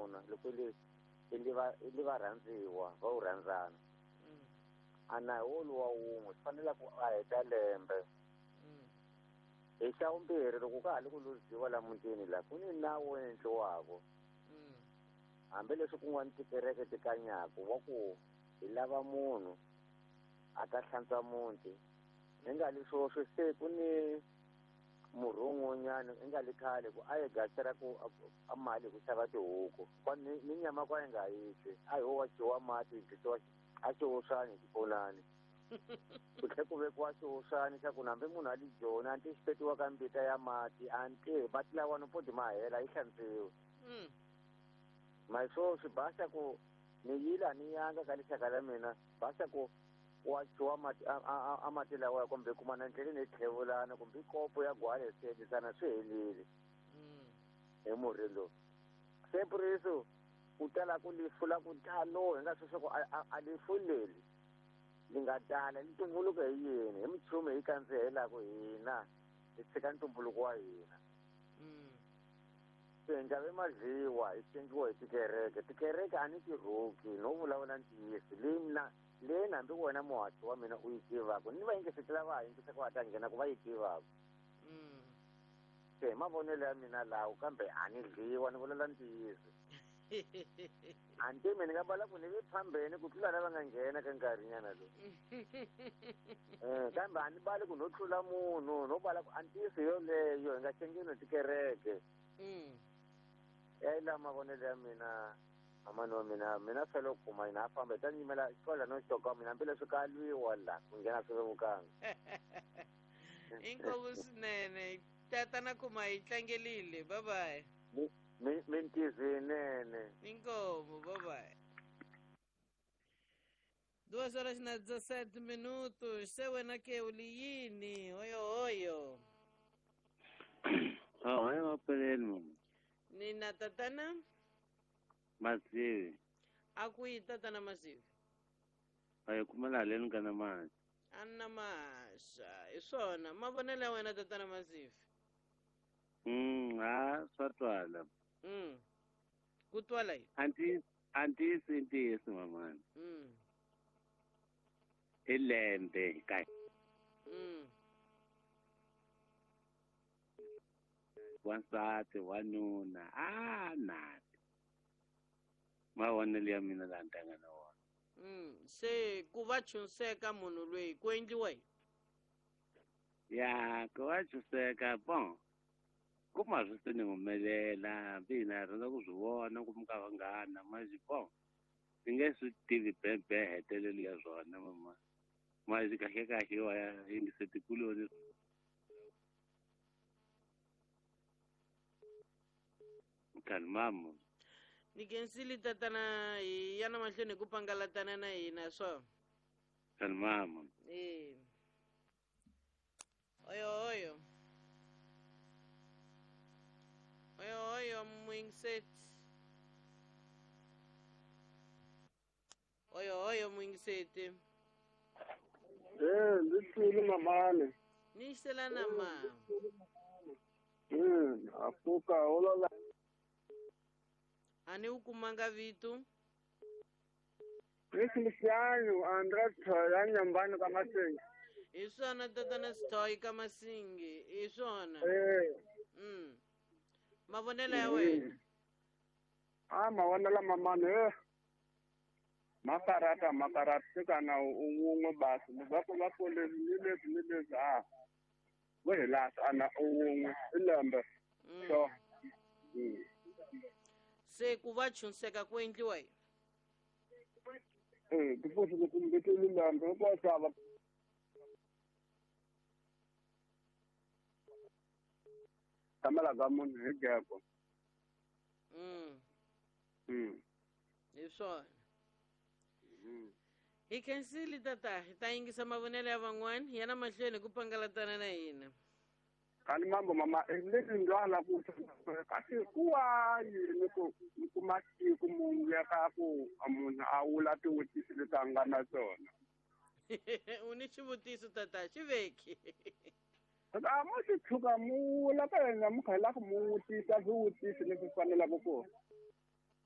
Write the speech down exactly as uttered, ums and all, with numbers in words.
wanuna loko le i va i va rhandziwa va wu rhandzana a na hi woluwa wun'we swi fanele ku a heta lembe. Hi xa vumbirhi loko ka ha ri ku luziwa la mutini la ku ni nawu wo endliwako hambileswi kun'wana tikereke ti kanyaku wa ku hi lava munhu a ta hlantswa muti hi nga leswo swi se ku ni murhun'wanyana i nga le khale ku a yi gasela ku a mali ku xava tihuku kwa ni ni nyama kwa yi nga yi twi a hi wo dyiwa mati yi dyisiwa a xiwusani xiponani ku tlhe ku vekiwa xiwusani xa ku hambi munhu a li joni a nti xi petiwa ka mbita ya mati a nti mati lawani poti ma hela yi hlantswiwe ma swo swi basa ku ni yila ni yanga ka lixaka la mina basa ku wa dyiwa mati a mati lawa kumbe kuma na ndleleni hi tlhevulana kumbe kopo ya gwale swi endlisana swi helile hi murhi lowu se puriso ku tala ku lifu la ku talo hi nga swi swa ku a lifu leri li nga tala li tumbuluka hi yini hi minchumu hi kandzihelaku hina hi tshika ntumbuluko wa hina se nga madliwa hi xengiwa hi tikereke tikereke a ni ti rhuki no vulavula ntiyiso leyi mina leyi hambi wena muhaxi wa mina u yi tivaka ni va yingisetela va ha yingisa ku va ta nghena ku va yi tivaka se hi mavonelo ya mina lawo kambe a ni dliwa ni vulela ntiyiso a ni tivi ni nga bala ku ni vi phambeni ku tlula lava nga nghena ka nkarhinyana lowu kambe a ni bali ku no tlula munhu no bala ku a ntiyiso yoleyo hi nga xengeni tikereke ya la mavonelo ya mina amani wa mina mina fela ku kuma hina a famba hi ta nyimela xikola no xoka mina hambileswi ka lwiwa la ku nghena swi vevukanga inkomu swinene tatana kuma hi tlangelile bye bye mintizo yinene inkomu bye bye. Duas horas na dezessete minutos se wena ke u li yini oyo oyo Oh, hayi mapeleni mama. Nina tatana Masivi. Akuyi tatana Masivi. Ayi kumela leni kana manje. Anna masha, hi swona mavonelo ya wena tatana Masivi. Mm, ha swa twala. Mm. Ku twala yini? Anti anti ntiyiso mamani. Mm. I lembe ka. Mm. Wansati wanuna a nati mavonelo ya mina la ntanga na wona. Mm, se ku va chunseka munhu loyi ku endliwa yini? Ya ku va chunseka bon kuma swi se ni humelela hambi hina hi rhandza ku swi vona ku mi ka vanghana manje bon ni nge swi tivi bebe hetelelo ya swona mama manje kahle kahle wa ya yingise tikuloni kalmamo. Ni khensile tatana hi ya na mahlweni hi ku pangalatana na hina swo. Kalmamo. Eh. Oyo oyo. Oyo oyo mwingiseti. Oyo oyo mwingiseti. Eh, ndithini mamani. Ni xelana ma. Mm, afuka olola. Ani u kumanga vitu? Feliciano André Thoya nyumbani ka Masingi. Hi swona tatana Sithoyi ka Masingi, hi swona. Eh. Mm. Mavonelo ya wena. Ah, mavonelo mamani eh. Makarata makarata kana un'we basi va va pole ni leswi ni leswi a. Vo hi lahla ana un'we i lembe. So. Mm. Se ku va chunseka ku endliwa yini? Eh, ku futhi ku mbeteli lembe ku xava. Tamela ga munhu hi geko. Mm. Mm. Hi swona. Mm. Hi khensile tata, hi ta yingisa mavonelo ya van'wana ya na mahlweni ku pangalatana na hina. Kani mambo mama leswi ndlwala ku kasi kuwa yini ku kuma siku munhu ya ka ku munhu a wula tivutiso leti a nga na tona. U ni xivutiso tata xi veki. A mo xi tshuka mu wula ka yena mu kha la ku mu vutisa swivutiso leswi fanelaka ku